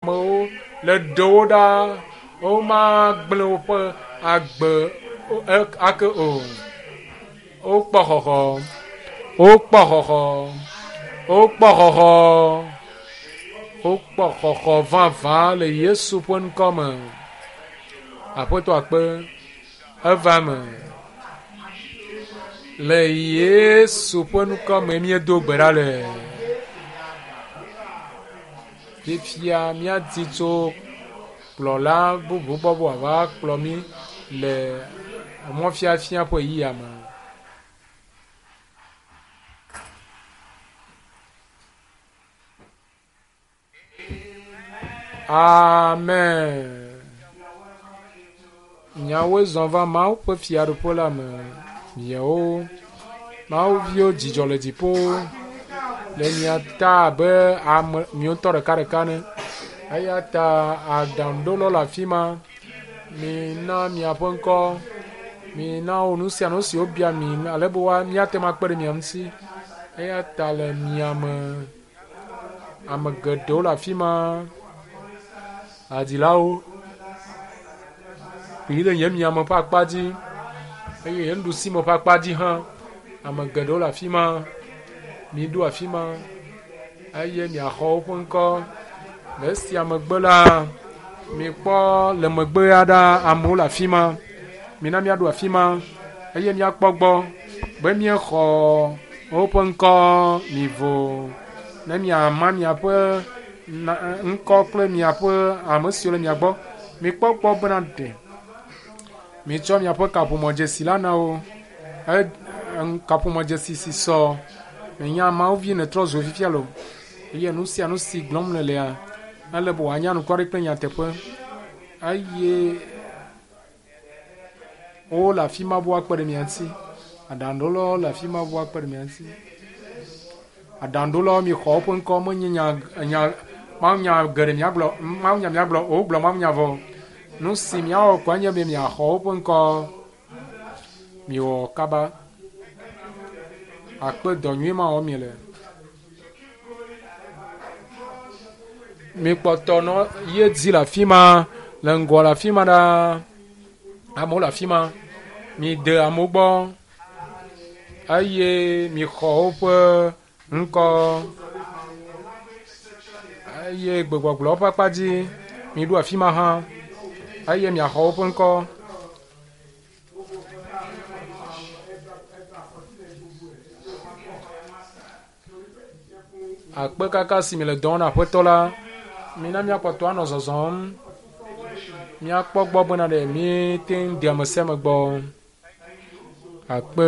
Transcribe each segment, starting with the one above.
Amewo le ɖewo ɖa womagblẽ woƒe agbe ake o. Wokpɔ xɔxɔ. Wokpɔ xɔxɔ. Wokpɔ xɔxɔ. Wokpɔ xɔxɔ vavã le Yesu ƒe ŋkɔ me. Aƒetɔ akpe eva eme. Le Yesu ƒe ŋkɔ me míedo gbe ɖa le. Fifia míadi tso kplɔla bubu gbɔ be wòava kplɔ mí le mɔfiafia ƒe ɣeyiɣia me. Amen. Miawoe zɔ va Mawu ƒe fiaɖuƒe la me. Miawo Mawu viwo dzidzɔ le dziƒo le mia ta abe ame miwo ŋutɔ ɖekaɖeka ene. Eya ta aɖaŋuɖolawo le afi ma. Mina miaƒe ŋkɔ. Mina wo nu sia nu si wobia mi ale be woa míate ŋu akpe ɖe mia ŋuti. Eya ta le mia me. Ame geɖewo le afi ma. Hadzilawo yi ɖe nye miame ƒe akpa dzi eye nye nuɖusime ƒe akpa dzi hã. Ame geɖewo le afi ma. Miɖo afi ma eye miaxɔ woƒe ŋkɔ. Le esia megbe la, mikpɔ le megbe aɖa amewo le afi ma. Mina míaɖo afi ma eye míakpɔ gbɔ be míexɔ woƒe ŋkɔ mivo ne miama miaƒe ŋkɔ kple miaƒe ame siwo le mia gbɔ. Mikpɔ gbɔ bena ɖe mitsɔ miaƒe kaƒomɔdzesi la na wo. Kaƒomɔdzesi si sɔ. Menya Mawu vi nètrɔ zu fifia lo. Eye nu sia nu si gblɔm nèlea, ele be wòanye anukware kple nyateƒe. Eye Wole afi ma be woakpe ɖe mia ŋuti. Aɖaŋuɖolawo le afi ma be woakpe ɖe mia ŋuti. Aɖaŋuɖolawo mixɔ woƒe ŋkɔ menye nya nya mawunya geɖe miagblɔ mawunya miagblɔ o wogblɔ mawunya vɔ. Nu si miawɔ koe nye be miaxɔ woƒe ŋkɔ. Miwɔ kaba. Akpe dɔ nyui ma wɔm miele. Mikpɔtɔ nɔ ye dzi le afi ma, le ŋgɔ le afi ma ɖaa. Amewo le afi ma. Mide amewo gbɔ eye mixɔ woƒe ŋkɔ eye gbegbɔgblɔ ƒe akpa dzi miɖo afi ma hã eye miaxɔ woƒe ŋkɔ. Akpe kaka si miele dɔ wɔm na Aƒetɔ la, mina míakpɔtɔ anɔ zɔzɔm. Míakpɔ gbɔ bena ɖe míete ŋu de ame sia ame gbɔ. Akpe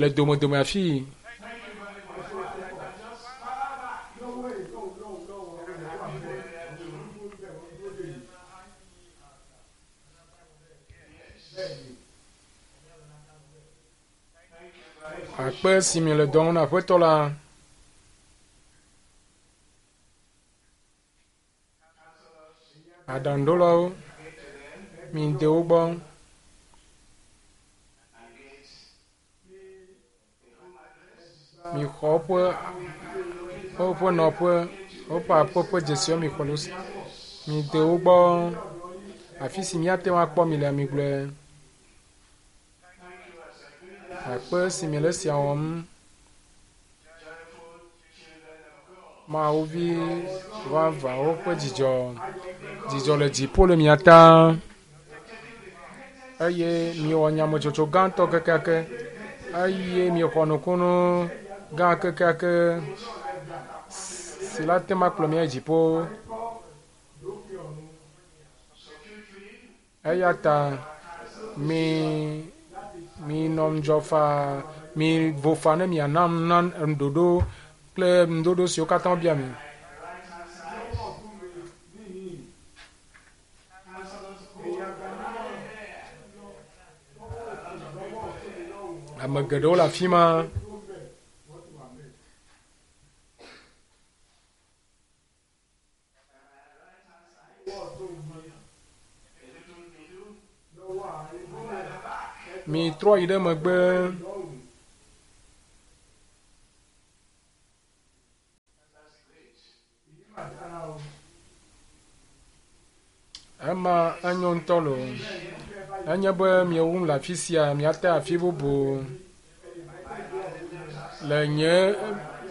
le domedome afii. Akpe si miele dɔ wɔm na Aƒetɔ la. Aɖaŋuɖolawo, mide wo gbɔ. Mixɔ woƒe woƒe nɔƒe, woƒe aƒe ƒe dzesiwo mixɔ le wo si. Mide wo gbɔ. Afi si míate ŋu akpɔ mi le migblɔe. Akpe si miele esia wɔm. Mawu vi vavãwo ƒe dzidzɔ. Dzidzɔ le dziƒo le mia ta. Eye miewɔ nyametsotso gãtɔ kekeake. Eye miexɔ nukunu gã kekeake si la te ŋu akplɔ mi ayi dziƒo. Eya ta mi minɔ ŋudzɔ faa, mivo faa ne mianam na ŋuɖoɖo kple ŋuɖoɖo siwo katã wobia mi. Ame geɖewo le afi ma. Mitrɔ yi ɖe megbe. Ema enyo ŋutɔ loo. Nenye be miewum le afi sia, miate afi bubu le nye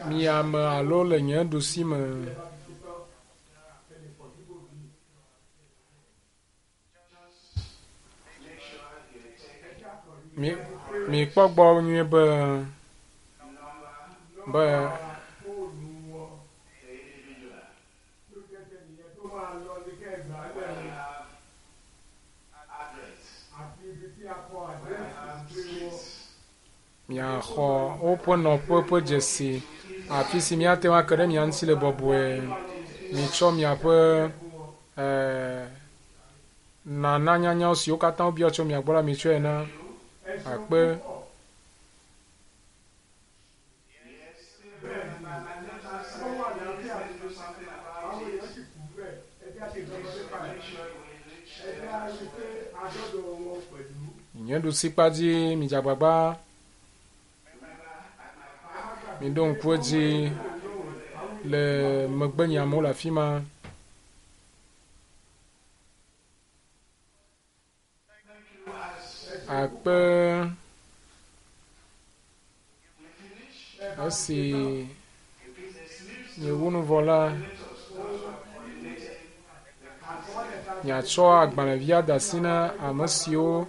miame alo le nye ɖusime. Mi mikpɔ gbɔ nyuie be be miaxɔ woƒe nɔƒe ƒe dzesi afi si miate ŋu ake ɖe mia ŋuti le bɔbɔe. Mitsɔ miaƒe eh, nananyanyawo siwo katã wobia tso mia gbɔ la mitsɔe na akpe. Nye ɖusikpa dzi midze agbagba miɖo ŋku edzi le megbenye amewo le afi ma. Akpe esi miewu nu vɔ la, miatsɔ agbalẽvia de asi na ame siwo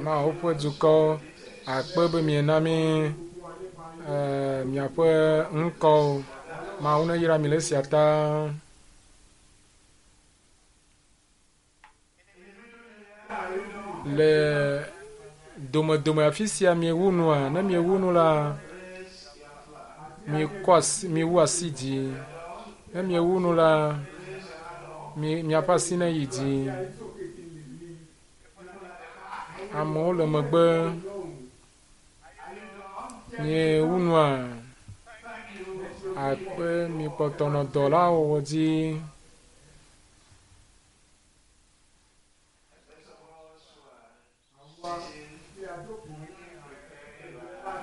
Mawu ƒe dukɔ akpe be miena mí eh, miaƒe ŋkɔwo. Mawu neyra mi le esia ta. Le domedome afi sia miewu nua, ne miewu nu la, miekɔ asi, miewu asi dzi. Ne miewu nu la, mi, miaƒe asi neyi dzi. Amewo le megbe. Miewu nua, akpe mikpɔtɔ nɔ dɔ la wɔwɔ dzi.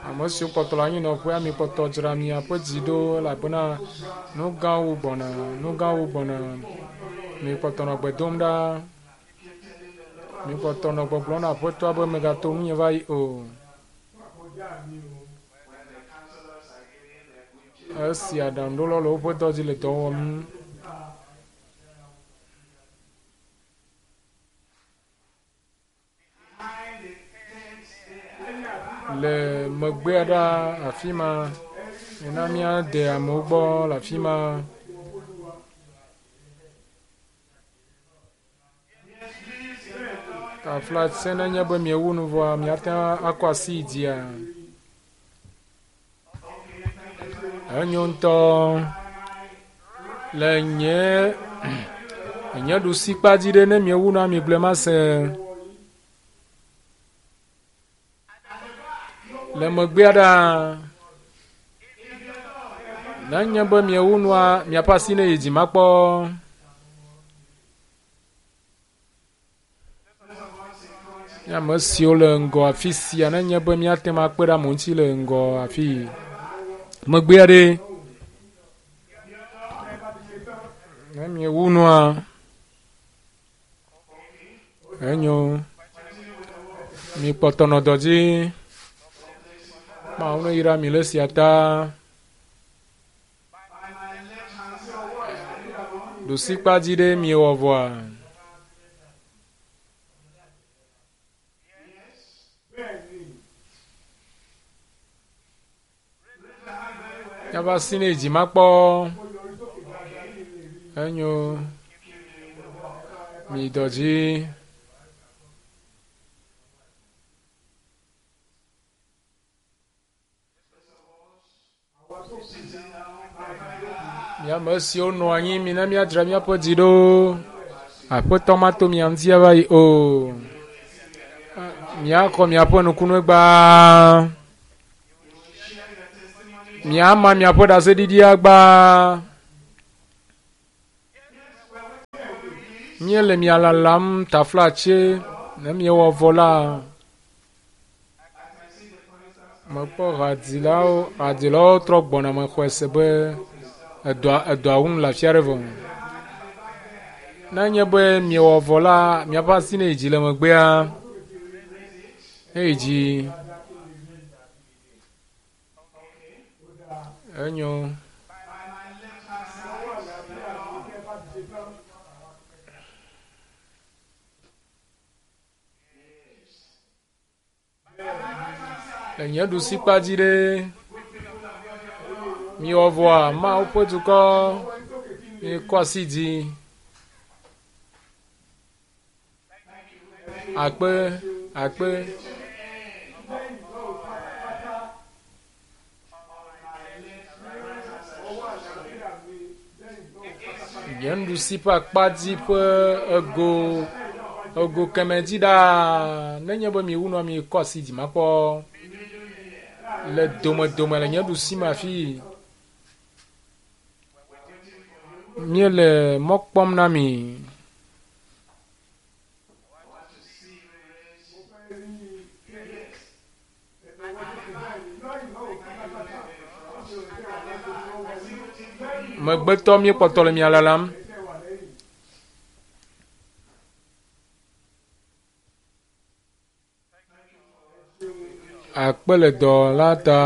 Ame siwo kpɔtɔ le anyinɔƒea, mikpɔtɔ dzra miaƒe dzi ɖo elabena nu gãwo gbɔna, nu gãwo gbɔna. Mikpɔtɔ nɔ gbe dom ɖa. Mikpɔtɔ nɔ gbɔgblɔm na Aƒetɔa be megato ŋunye va yi o. Esi aɖaŋuɖolawo le woƒe dɔ dzi le dɔ wɔm. Le megbea ɖa afi ma, mina míade amewo gbɔ le afi ma. Taflatse nenye be miewu nu vɔa, miate ŋu akɔ asi yi dzia. Enyo ŋutɔ. Le nye nye ɖusikpa dzi ɖe ne miewu nua migblɔe mase. Le megbea ɖa nenye be miewu nua miaƒe asi ne yi dzi makpɔ. Nye ame siwo le ŋgɔ afi sia nenye be míate ŋu akpe ɖe amewo ŋuti le ŋgɔ afi megbea ɖe ne miewu nua enyo mikpɔtɔ nɔ dɔ dzi Mawu neyra mi le esia ta. Ɖusikpa dzi ɖe miewɔ vɔa? Míava si ne dzi makpɔ. Enyo. Mi dɔ dzi. Mi ame siwo nɔ anyi, mina míadzra míaƒe dzi ɖo. Aƒetɔ mato mia ŋuti ava yi o. Míaxɔ miaƒe nukunu gbaa. Míama miaƒe ɖaseɖiɖia gbaa. Míele mia lalam taflatse ne miewɔ vɔ la. Mekpɔ hadzilawo, hadzilawo trɔ gbɔna mexɔe se be edɔa edɔa wum le afi aɖe vɔ. Ne nye be miewɔ vɔ la, miaƒe asi ne yi dzi le megbea, ne yi dzi. Enyo. Le nye ɖusikpa dzi ɖe, miwɔ vɔa Mawu ƒe dukɔ, mikɔ asi dzi. Akpe, akpe. Nye nuɖusi ƒe akpa dzi ƒe ego ego kemɛ dzi ɖaa. Nenye be miwu nua mikɔ asi dzi makpɔ le domedome le nye ɖusi me afi. Míele mɔ kpɔm na mi. Megbetɔ míekpɔtɔ le mia lalam. Akpe le dɔ la ta.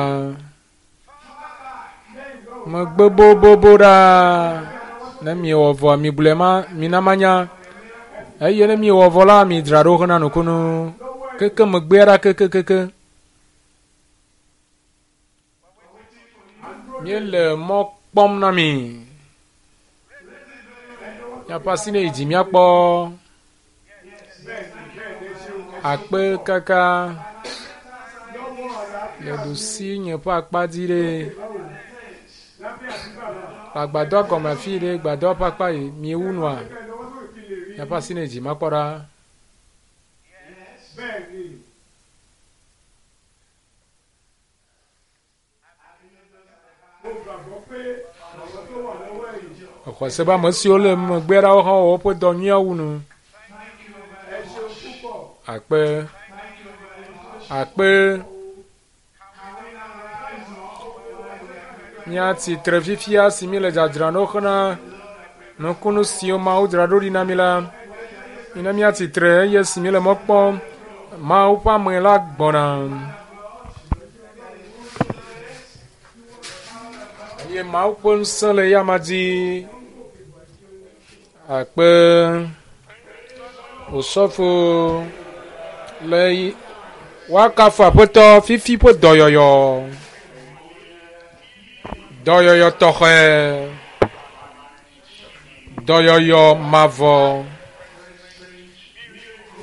Megbe bobobo ɖaa. Ne miewɔ vɔa, migblɔe ma, mina manya. Eye ne miewɔ vɔ la, midzra ɖo hena nukunu. Keke megbea ɖa kekekeke. Míele mɔ kpɔm na mi. Miaƒe asi ne yi dzi míakpɔ. Akpe kaka le ɖusi nye ƒe akpa dzi ɖe. Agbadɔ gɔme afi ɖe gbadɔ ƒe akpa yi miewu nua. Miaƒe asi ne yi dzi makpɔ ɖa. Exɔ se be ame siwo le megbea ɖawo hã wɔ woƒe dɔ nyuia wu nu. Akpe. Akpe. Míatsi tre fifia si míle dzadzram ɖo hena nukunu siwo Mawu dzra ɖo ɖi na mí la. Mina míatsi tre eye si míle mɔ kpɔm Mawu ƒe ame la gbɔna. Eye Mawu ƒe ŋusẽ le eyama dzi. Akpe osɔfo le woakafu aƒetɔ fifi ƒe dɔyɔyɔ. Dɔyɔyɔ tɔxɛ. Dɔyɔyɔ mavɔ.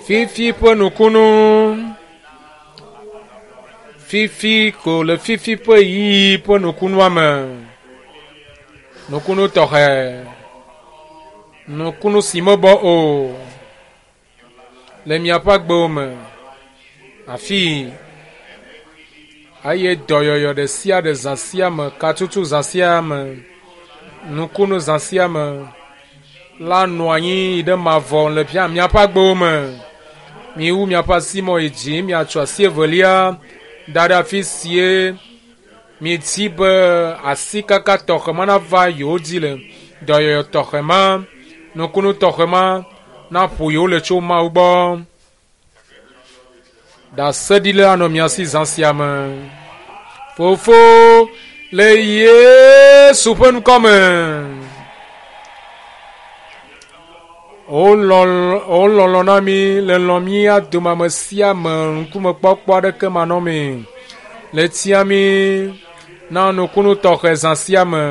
Fifi ƒe nukunu. Fifi ko le fifi ƒe ɣeyiɣi ƒe nukunua me. Nukunu tɔxɛ. Nukunu si mebɔ o le miaƒe agbewo me. Afii eye dɔyɔyɔ ɖe sia ɖe zã sia me, katutu zã sia me, nukunu zã sia me la nɔ anyi yi ɖe mavɔ le miaƒe agbewo me. Miwu miaƒe asimɔ yi dzi, miatso asi evelia da ɖe afi sie miedi be asikaka tɔxɛ ma nava yewo dzi le. Dɔyɔyɔ tɔxɛ ma, nukunu tɔxɛ ma naƒo yewo le tso Mawu gbɔ. Ɖaseɖila anɔ mia si zã sia me. Fofo le Yesu ƒe ŋkɔ me. Wolɔlɔ na mi le lɔ̃ mía dome ame sia ame ŋkumekpɔkpɔ aɖeke manɔmee. Le tia mi na nukunu tɔxɛ zã sia me.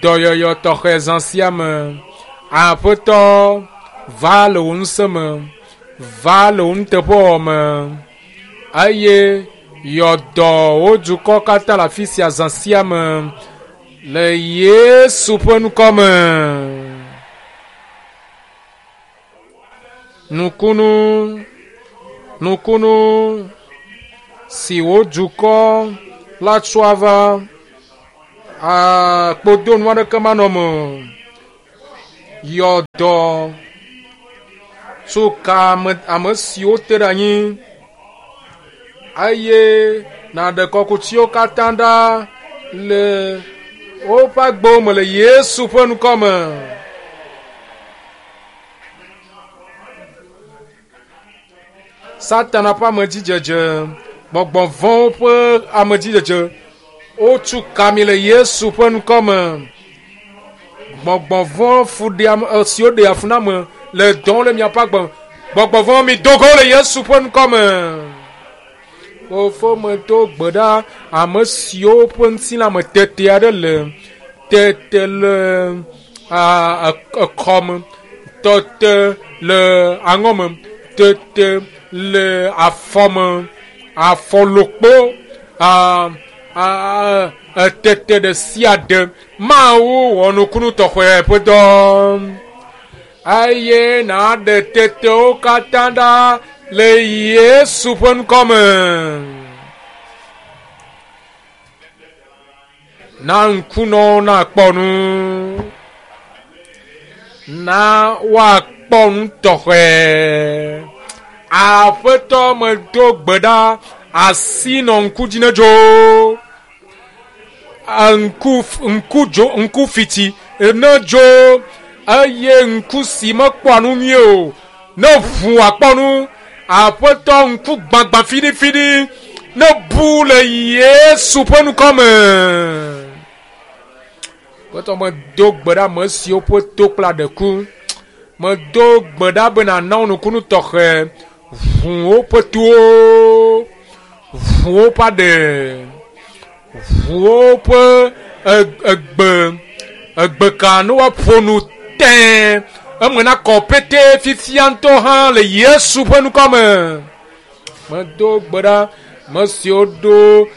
Dɔyɔyɔ tɔxɛ zã sia me. Aƒetɔ va le wò ŋusẽ me. Va le wò nuteƒewɔwɔ me eye yɔ dɔ wò dukɔ katã le afi sia zã sia me le Yesu ƒe ŋkɔ me. Nukunu, nukunu si wò dukɔ la tsɔa va kpodonu aɖeke manɔ me o. Yɔ dɔ tso ka ame, ame siwo te ɖe anyi eye Nàɖe kɔkutiwo katã ɖa le woƒe agbewo me le Yesu ƒe ŋkɔ me. Satana ƒe amedzidzedze, gbɔgbɔ vɔ̃wo ƒe amedzidzedze, wotu ka mi le Yesu ƒe ŋkɔ me. Gbɔgbɔ vɔ̃ fuɖeame siwo ɖea fu na ame le dɔm le miaƒe agbe me. Gbɔgbɔ vɔ̃ mi do go le Yesu ƒe ŋkɔ me. Fofo medo gbe ɖa ame siwo ƒe ŋutilã me tete aɖe le tete le ekɔme, tete le aŋɔme, tete le afɔme, afɔlokpo, etete ɖe sia ɖe. Mawu wɔ nukunu tɔxɛ ƒe dɔ eye nàɖe tetewo katã ɖa le Yesu ƒe ŋkɔ me. Na ŋkunɔwo nakpɔ nu. Na woakpɔ nu tɔxɛ. Aƒetɔ medo gbe ɖa asi nɔ ŋku dzi ne dzo. Ŋku ŋku dzo ŋku fiti ne dzo eye ŋku si mekpɔa nu nyuie o ne ʋu akpɔ nu. Aƒetɔ ŋku gbagbã fiɖifiɖi ne bu le Yesu ƒe ŋkɔ me. Aƒetɔ medo gbe ɖe ame siwo ƒe to kple aɖe ku. Medo gbe ɖa be nàna wo nukunu tɔxɛ. Ʋu woƒe towo, ʋu woƒe aɖe, ʋu woƒe egbe, egbeka ne woaƒo nu tẽ. Eme nakɔ pete fifia ŋutɔ hã le Yesu ƒe ŋkɔ me. Medo gbe ɖa ame siwo ɖo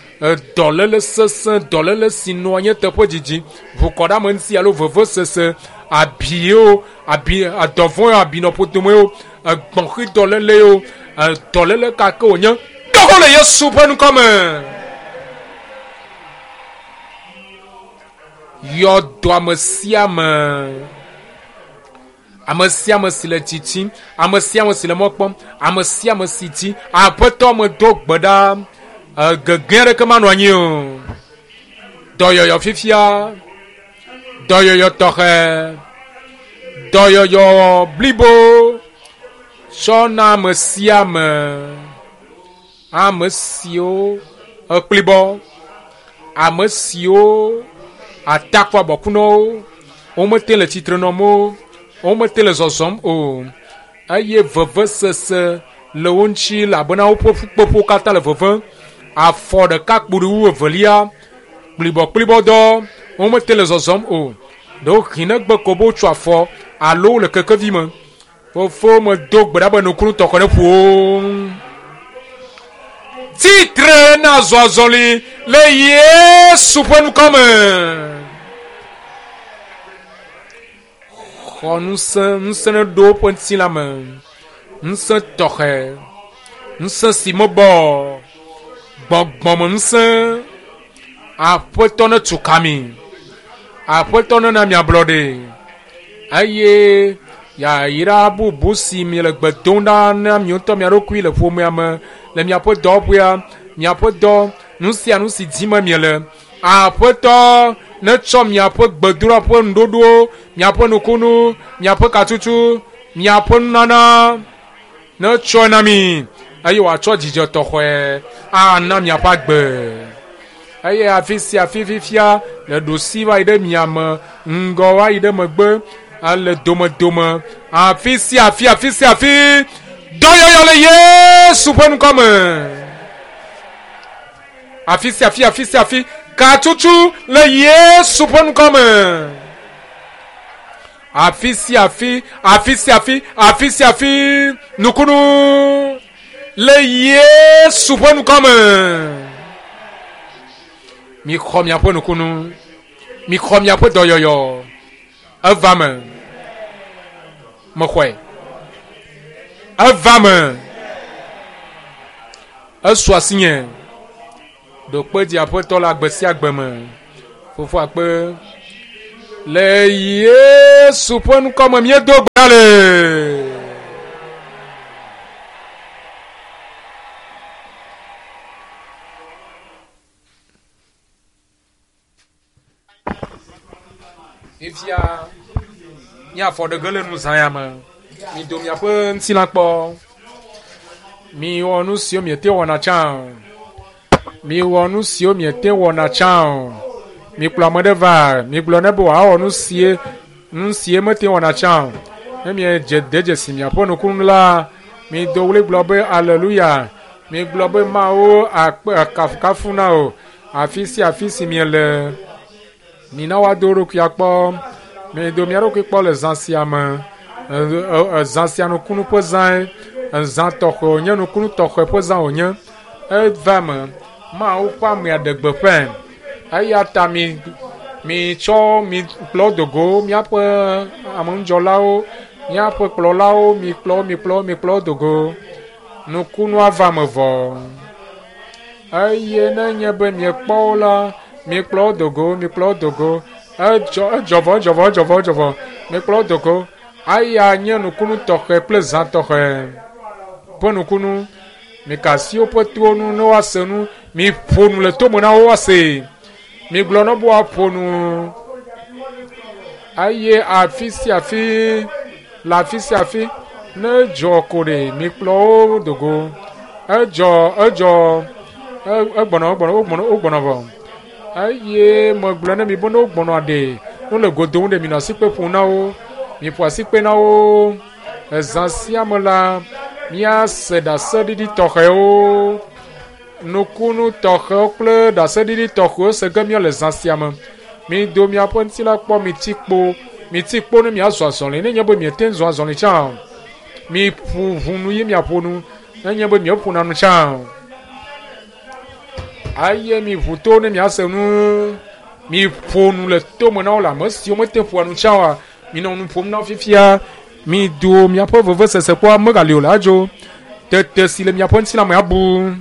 dɔléle sesẽ, dɔléle si nɔa nye teƒe didi, ʋukɔɖeameŋuti alo vevesese, abiwo, abi, dɔvɔ̃ abi nɔ ƒodomewo, egbɔ̃xi dɔlélewo, dɔléle ka ke wònye, dogo le Yesu ƒe ŋkɔ me. Yɔ dɔ ame sia ame. Ame sia ame si le tsitsim, ame sia ame si le mɔ kpɔm, ame sia ame si dzi Aƒetɔ medo gbe ɖa, gegẽ aɖeke manɔ anyi o. Dɔyɔyɔ fifia, dɔyɔyɔ tɔxɛ, dɔyɔyɔ blibo tsɔ na ame sia ame, ame siwo ekplibɔ, ame siwo atakpɔ abɔkunɔwo, womete le tsitre nɔm o, womete le zɔzɔm o, eye vevesese le wo ŋuti elabena woƒe ƒukpeƒewo katã le vevem. Afɔ ɖeka kpo ɖi wu evelia, kplibɔkplibɔdɔ, womete le zɔzɔm o. Ɖewohĩ negbe ko be wotso afɔ alo wole kekevi me. Fofo medo gbe ɖa be nukunu tɔxɛ ne ƒo wo. Tsitre na zɔ azɔli le Yesu ƒe ŋkɔ me. Xɔ ŋusẽ, ŋusẽ ne ɖo woƒe ŋutilã me. Ŋusẽ tɔxɛ, ŋusẽ si mebɔ o, gbɔgbɔme ŋusẽ. Aƒetɔ ne tu ka mi. Aƒetɔ nena mi ablɔɖe. Eye yayra bubu si miele gbe dom ɖa na mi ŋutɔ mia ɖokui le ƒomea me, le miaƒe dɔwɔƒea, miaƒe dɔ, nu sia nu si dim miele. Aƒetɔ netsɔ miaƒe gbedoɖa ƒe nuɖoɖowo, miaƒe nukunu, miaƒe katutu, miaƒe nunana netsɔe na mi eye wòatsɔ dzidzɔ tɔxɛ ana miaƒe agbe. Eye afi sia afi fifia le ɖusi va yi ɖe miame, ŋgɔ va yi ɖe megbe, le domedome, afi sia afi, afi sia afi, dɔyɔyɔ le Yesu ƒe ŋkɔ me. Afi sia afi, afi sia afi, katutu le Yesu ƒe ŋkɔ me. Afi sia afi, afi sia afi, afi sia afi, nukunu le Yesu ƒe ŋkɔ me. Mixɔ miaƒe nukunu, mixɔ miaƒe dɔyɔyɔ. Eva me. Mexɔe. Eva me. Esu asinye. Ɖo kpe dzi Aƒetɔ le agbe sia agbe me. Fofo akpe. Le Yesu ƒe ŋkɔ me míedo gbe ɖa le. Fifia míafɔ ɖe ge le nu zã ya me. Mido miaƒe ŋutilã kpɔ. Miwɔ nu siwo miete wɔna tsã o. Miwɔ nu siwo miete wɔna tsã o. Mikplɔ ame ɖe va. Migblɔ ne be wòawɔ nu sie nu sie mete wɔna tsã o. Ne miedze de dzesi miaƒe nukunu la, mido ɣli gblɔ be aleluya. Migblɔ be Mawu akpe kafukafu na wò. Afi sia afi si miele. Mina woado wo ɖokui akpɔ. Mido mia ɖokui kpɔ le zã sia me. Zã sia nukunu ƒe zãe. Zã tɔxɛ wònye, nukunu tɔxɛ ƒe zã wònye. Eva eme. Mawu ƒe amea ɖe gbeƒãe. Eya ta mi mitsɔ mi kplɔ do go míaƒe ameŋudzɔlawo, míaƒe kplɔlawo, mikplɔ mikplɔ mikplɔ do go. Nukunua va eme vɔ. Eye ne nye be miekpɔ wo la, mikplɔ wo do go, mikplɔ wo do go. Edzɔ edzɔ vɔ edzɔ vɔ edzɔ vɔ edzɔ vɔ. Mikplɔ wo do go. Eya nye nukunu tɔxɛ kple zã tɔxɛ ƒe nukunu. Mika asi woƒe towo nu ne woase nu. Miƒo nu le tome na wo woasee. Migblɔ na wo be woaƒo nu. Eye afi sia afi le afi sia afi ne edzɔ ko ɖe mikplɔ wo do go. Edzɔ edzɔ egbɔnɔ egbɔnɔ wogbɔnɔ wogbɔnɔ vɔ. Eye megblɔ ne mi be ne wogbɔnɔ ɖe ne wole go dom ɖe minɔ asikpe ƒom na wo. Miƒo asikpe na wo. Ezã sia me la, míase ɖaseɖiɖi tɔxɛwo, nukunu tɔxɛwo kple ɖaseɖiɖi tɔxɛwo se ge míele zã sia me. Mido miaƒe ŋutilã kpɔ, miti kpo, miti kpo ne miazɔ azɔli. Ne nye be miete ŋu zɔ azɔli tsã o, miƒu ʋu nu ye miaƒo nu. Ne nye be mieƒona nu tsã o, eye miʋu to ne miase nu. Miƒo nu le tome na wo le ame siwo mete ƒoa nu tsã oa, minɔ nu ƒom na wo fifia. Mido miaƒe vevesese kpɔ megali o le adzo. Tete si le miaƒe ŋutilã me abu.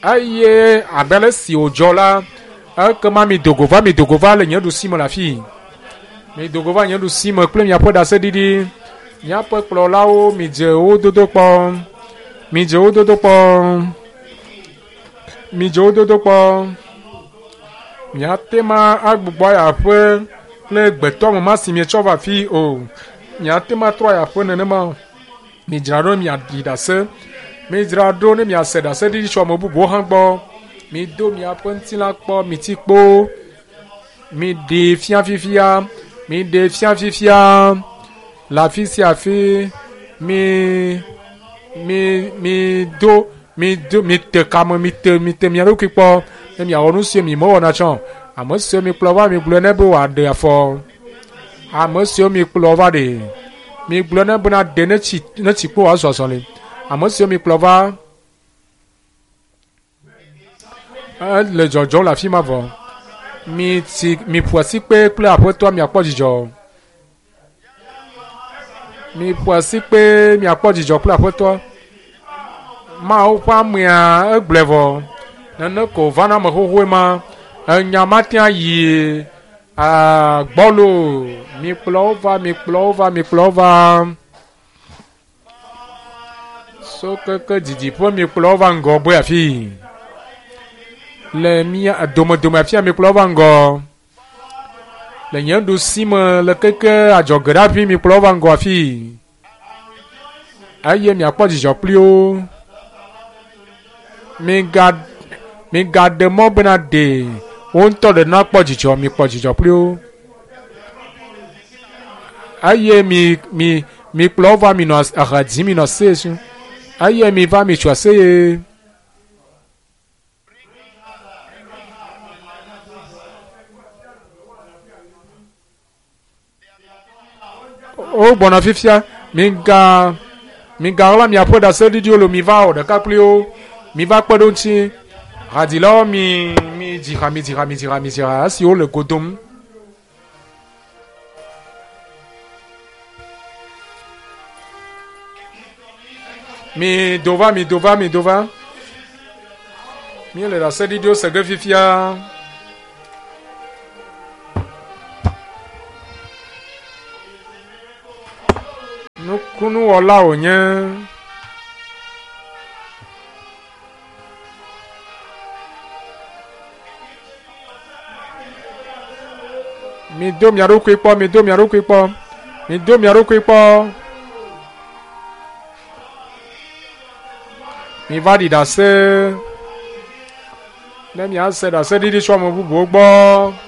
Eye abe ale si wòdzɔ la, ekema mido go va, mido go va le nye ɖusime le afii. Mido go va nye ɖusime kple miaƒe ɖaseɖiɖi. Miaƒe kplɔlawo, midze wo dodo kpɔ. Midze wo dodo kpɔ. Midze wo dodo kpɔ. Miate ma agbugbɔ ayi aƒe kple gbetɔame ma si mietsɔ va afii o. Miate ma atrɔ ayi aƒe nenema o. Midzra ɖo ne miaɖi ɖase. Midzra ɖo ne miase ɖaseɖiɖi tso ame bubuwo hã gbɔ. Mido miaƒe ŋutilã kpɔ, miti kpo. Miɖee fia fifia. Miɖee fia fifia. Le afi sia afi mi mi mido mido mite kame mite mite mia ɖokui kpɔ ne miawɔ nu siwo mi mewɔna tsã o. Ame siwo mikplɔ va migblɔe ne be wòaɖe afɔ. Ame siwo mikplɔ va ɖe migblɔe ne bena ɖe ne tsi ne tsi kpo wòazɔ azɔli. Ame siwo mikplɔ va ele dzɔdzɔm le afi ma vɔ. Mitsi miƒo asikpe kple aƒetɔa miakpɔ dzidzɔ. Miƒo asikpe miakpɔ dzidzɔ kple aƒetɔa. Mawu ƒe amea egblɔe vɔ. Nene ko wòva na ame xoxoe ma. Enya mate ayi gbɔlo. Mikplɔ wo va, mikplɔ wo va, mikplɔ wo va. So keke didiƒe mikplɔ wo va ŋgɔgbe afii. Le mía domedome afia mikplɔ wo va ŋgɔ. Le nye ɖusi me le keke adzɔge ɖe hafi mikplɔ wo va ŋgɔ afii. Eye miakpɔ dzidzɔ kpli wo. Miga migaɖe mɔ bena ɖe wo ŋutɔ ɖe nakpɔ dzidzɔ, mikpɔ dzidzɔ kpli wo. Eye mi mi mikplɔ wo va minɔ aha dzim minɔ aseye sum. Eye miva mitso aseye. Wogbɔna fifia. Miga migaɣla miaƒe ɖaseɖiɖiwo lo miva wɔ ɖeka kpli wo. Miva kpe ɖe wo ŋuti. Hadzilawo mi midzi ha midzi ha midzi ha midzi ha esi wole go dom. Mi do va mi do va mi do va. Míele ɖaseɖiɖiwo se ge fifia. Nukunuwɔla wònye. Mido mia ɖokui kpɔ, mido mia ɖokui kpɔ, mido mia ɖokui kpɔ. Miva ɖi ɖase ne miase ɖaseɖiɖi tso ame bubuwo gbɔ.